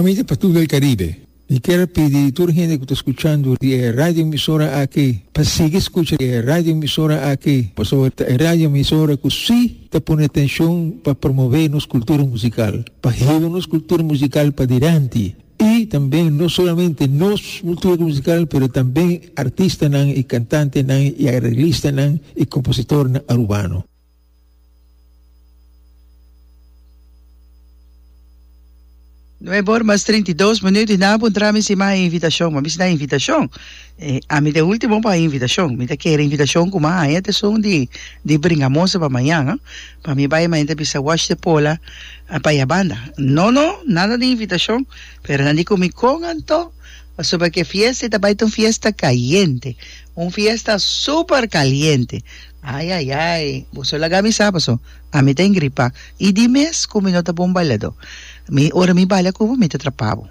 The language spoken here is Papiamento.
Ami ta Patul del Caribe. Mi kier a pidi tur hende ku ta skuchando di e radio emisora aki pa sigui skucha e radio emisora aki pasobra ta e radio emisora ku si ta pone atenshon pa promove nos kultura musikal, pa hiba nos kultura musikal padilanti i tambe no solamente nos kultura musikal pero tambe artistanan i kantantenan i areglistanan i kompositornan arubano. Nuebe or mas 32 minuut y nan a puntra mi si mi a haña invitacion. Mi a bisa nan invitacion? Eh, ami ta e ultimo pa haña invitacion. Mi ta kere invitacion cu mi a haña ta esun di di Bringamosa pa mañan, ah. Pa mi bay mañan ta bisa wash de pola pa ya banda. No, no, nada di invitacion. Pero nan di cu mi con anto? Pasobra cu e fiesta ta bay ta un fiesta cayente. Un fiesta super caliente. Ai ai ai, boso laga mi sa paso ami ta engripa i di mes ku mi no ta bon bailadó. Mi ora mi baila ku bo mi ta trapa bo.